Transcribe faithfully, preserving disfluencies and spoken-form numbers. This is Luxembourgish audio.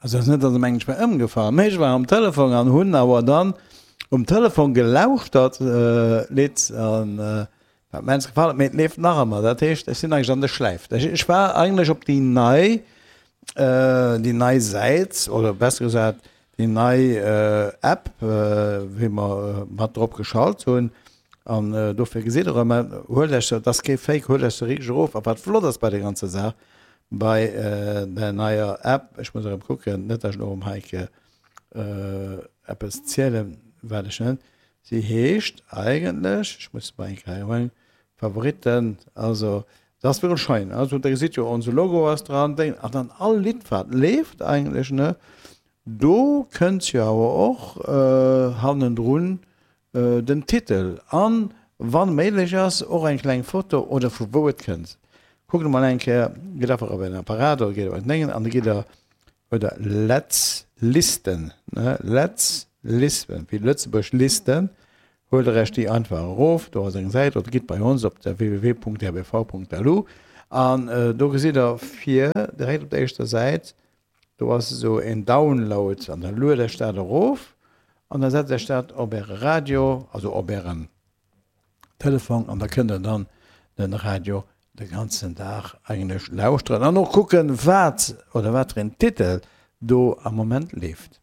Also ass net, datt em eng war ëmgefall, mee ech war am Telefon an hunn awer dann um Telefon gelauschtert Lidd an wat mir immens gefall huet, mee et leeft nach ëmmer. Dat heescht, ech sinn eigentlech an der Schläif. Ech war eigentlech op déi nei déi nei Säit oder besser gesat déi nei App, wéi mer mat drop geschalt hunn an dofir gesitt der erëm, huelt Iech se, et ass kee Fake, huelt Iech se richteg erof. A wat flott ass bei der ganzer Saach, bei der neier App, ech muss erëm kucken, net dat ech elo erëm hei eppes zielen, wat ech net, si heescht eigentlech, ech muss mol eng Kéier hei Favoriten, also dat ass wierklech schein, also der gesitt jo onse Logo ass dran, Déng, an dann all Lidd wat leeft eigentlech, ne, do kënnt jo awer och hannendrun den Titel an, wann méiglech ass, och eng kleng Foto oder vu wou et kënnt. Kuckt emol eng Kéier, gitt einfach op ären Apparat oder gitt op ären Déngen an da gitt der oder Letz Listen, ne, Letz Listen, wéi Lëtzebuerg Listen, huelt der iech déi einfach erof, do ass eng Säit, oder gitt bei ons op der www.rbv.lu an do gesitt der vir direkt op der éischter Säit, do ass esou een Download an da luet iech dat erof an da setzt iech dat op äre Radio, also op ären Telefong an da kënnt der dann den Radio de ganzen Dag eigentlech lauschteren an och kucken, wat oder wat fir een Titel do am Moment leeft.